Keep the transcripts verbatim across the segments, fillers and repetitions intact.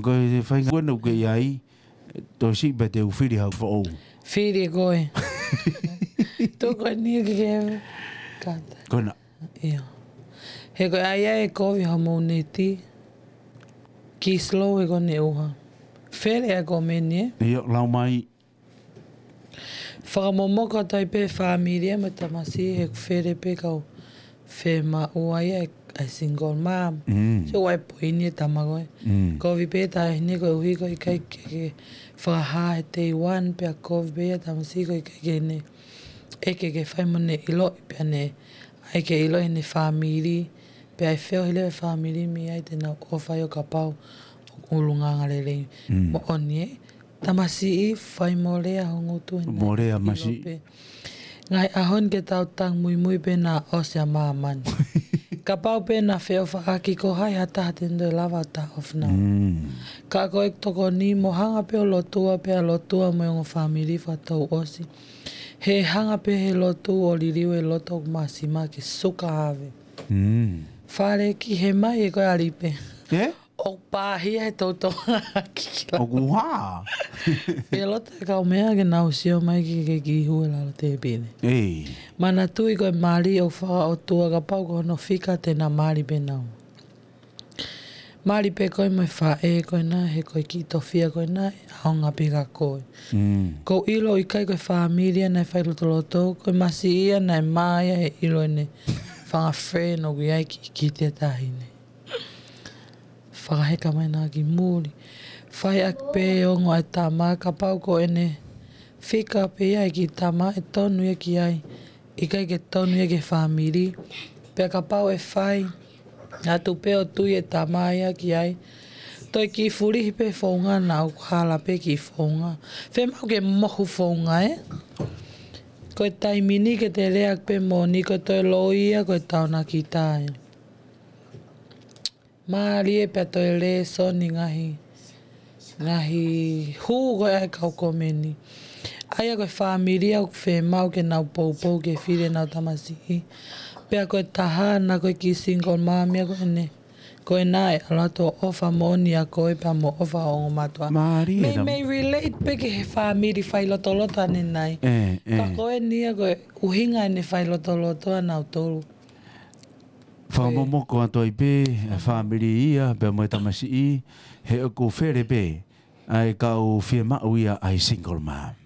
Ko e faʻahinga ko ena ʻoku ke ʻi ai, toe siʻi pē te u fili hau foʻou. Fili koe. Tuku eni ke ke kata. Ko ena. ʻIo. He ko e ʻai ʻa e kovi homou neti. Ki slow he ko ʻene ʻuha. Fele ʻa e komeni, ē? ʻIo, lau mai. Fakamomoko atu ai pē fāmili mo e tamasiʻi he ʻoku fele pē kau fiemaʻu ai ʻa e, ʻa e single mom. Mm. Sio ʻa e poini e tama ko ē. Mm. Kovi pē taʻahine koeʻuhi ko e ʻikai ke, ke fakahā he day one pea kovi pē ʻa e tamasiʻi ko e ʻikai ke ne ʻeke ke fai mo ne ʻiloʻi pea ne ʻai ke ʻiloʻi ʻene fāmili. Pea ʻe feohi leva e fāmili mei ai te nau ʻofa ai ʻo kapau ʻoku ʻulungaanga lelei. Mm. Moʻoni ē. Tamasiʻi, fai mo lea ho ngutu ʻi he mo lea ʻilo masiʻi pē. Ngaahi ʻaho ni ke tau tangi muimui pē naʻa ʻosi ʻa māmani. Kapau pē naʻa feʻofaʻaki ko hai ha taha te ne toe lava ʻo taʻofi naua. Mm. Ka ko e tokoni mo hanga pē ʻo lotua pea lotua mo e ongo fāmili fakatouʻosi. He hanga pē he lotu ʻo liliu e loto ʻoku māsima ke suka ave. Mm. Fale ki he mai e ko e alipe. Ē? ʻOku pāhia he toutou kikila. ʻOku hā? He loto e kau meʻa ke nau sio mai ki, ki, ki hū e lalo tēpile. Ei. Manatuʻi ko e mali ʻoku fakaʻotua kapau ko hono fika te na mali pē nau. Mali pē koe mo e faʻē ko ena, he ko e kiʻi tofia ko ena, ʻe ʻaonga pē kia koe. Mm. Ko e ʻilo ʻikai ko e fāmili ia naʻe fai lotoloto, ko e masiʻi ia naʻe mā ia he ʻilo ʻene fanga friend ʻoku ʻi ai ki, ki te taʻahine. Fakaheka mai na ki muli. Fai ʻaki pē ongo ʻa e tama kapau ko ʻene fika pē ia ʻa e kiʻi tama ʻe tonu ia ki ai. ʻIkai ke tonu ia ki he fāmili. Pea kapau ʻe fai atu pē ʻo tui e tama ia ki ai. Toe kiʻi fulihi pē founga naʻa ʻoku hala pē kiʻi founga. Fiemaʻu ke mohu founga ē. Ko e taimi ni ke te lea pē moʻoni ko e toe loi ia ko e taonakita ia. Mālie pea toe lēsoni ngaahi, ngaahi hū ko ē ʻa e kau komeni. ʻA ia ko e fāmili ʻoku fiemaʻu ke nau poupou ke fili ʻenau tamasiʻi. Pea ko e taha na ko e kiʻi single mom ia ko ena. Ko ena ʻe ʻalu atu ʻo ʻofa moʻoni ʻia koe pea mo ʻofa ongo mātuʻa. Mālie. Mei, mei relate pē ki he fāmili fai lotoloto ʻanenai. Ē, ē. Ka ko eni ia ko e ʻuhinga ʻene fai lotoloto ʻanautolu. Fakamomoko atu ai pē, ʻa e fāmili ia, pea mo e tamasiʻi, he ʻoku fele pē, ʻa e kau fiemaʻu ia ʻa e single mom.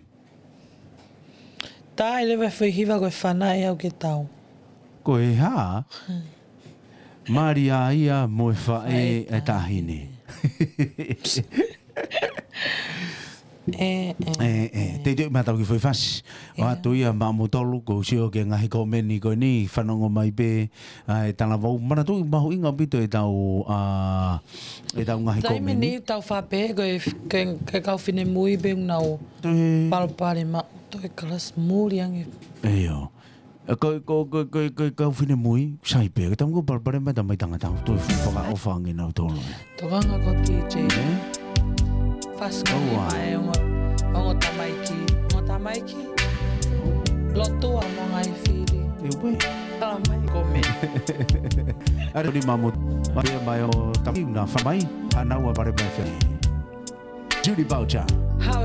Tā ʻe leva e foʻi hiva ko e fanaʻi au ke tau. Ko e hā? Hmm. Mali ʻa ia mo e faʻē ʻa e taʻahine. Ē, ē, ē, ē. Teitei ma tau ki foʻi fasi. ʻO atu ia maʻamoutolu, ko u sio ki he ngaahi komeni ko eni, fanongo mai pē, ʻa e talavou. Manatuʻi mahuʻinga ʻaupito e tau, ʻa, e tau ngaahi komeni. Taimi ni tau fape, ko e, ko e, ko e kau finemui pē nau palopalema, toe kalasi muli ange. ʻIo. ʻE, ko, ko, ko, ko, ko, kau finemui, sai pē, ke tau ko palopalema e tamaiki tangata, toe fakaʻofa ange nautolu. Tokanga ko T J. Ē? Fasi ko ua. Mai ongo, ongo tamaiki, ongo tamaiki. Lotua mo e ngaahi fili. ʻIo pē. Tala mai ko me. ʻAre ni mamo, mai mai o tamaiki na fa mai, ʻa naua pare mai fia. Julie Boucher. Hau